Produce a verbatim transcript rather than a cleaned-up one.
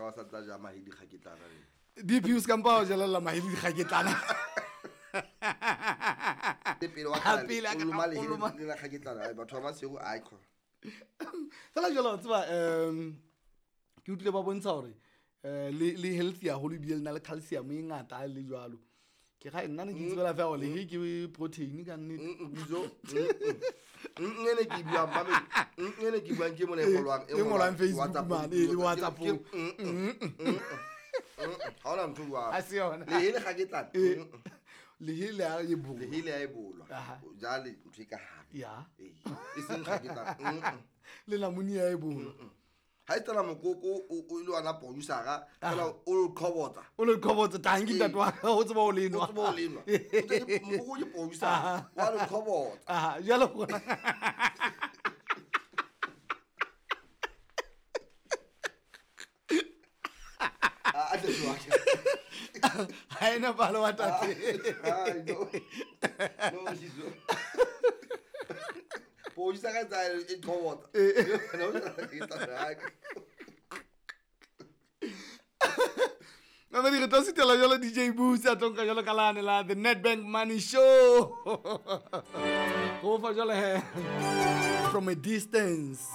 ka ba sa tla ja mahe dikgaketlana le. D P, o se ka mpa wa jelella mahe le dikgaketlana. Le pele wa Ha kgale, pele a o ka- loma lehe o loma- le la kgaketlana. Ai, batho ba Maseru, ai kho. Fela jalo wa tseba, um ke utlwile ba bontsha hore um le le healthy haholo, ebile le na le calcium e ngata le jwalo. Ke ga nna ne ke itsebela fela gore lehe ke protein ka nnete. Mm, mm, Bizo, mm, mm. Mm, ene ke e buang, mame. Mm, ene ke e buang ke mona e ngolwang, E ngolwang Facebook WhatsApp, mane, e le ke- WhatsApp. ke- mm, mm, mm, mm, mm. Ha hona ntho e jwalo. Ha se yona. Lehe le kgaketlana. Eh, Mm, mm. lehe le a e bolwa. Lehe le a e bolwa. Aha. O jale ntho e ka hare. Ya. Ee, e seng kgaketlana. Mm, mm. Le lamuni ya e bolwa. Ha e tsela mokoko o o ile wa na producer-a, fela o lo qhobotsa. O le qhobotsa tanki, ntate wa ka, o tseba ho le nwa. O tseba ho le nwa. O tse ke- mokoko ke producer, Aha. wa lo qhobotsa. Aha, jwale gona Ah, a tle jwang. Ha ena palo wa tate. Ai, no. No, Shizo. Producer ka tsa e qhobotsa. No, e tla- ai. Mamedi, re tlo sutela jalo D J Boots a tlo nka jalo ka lane la The Nedbank Money Show go fa jalo he, From a Distance.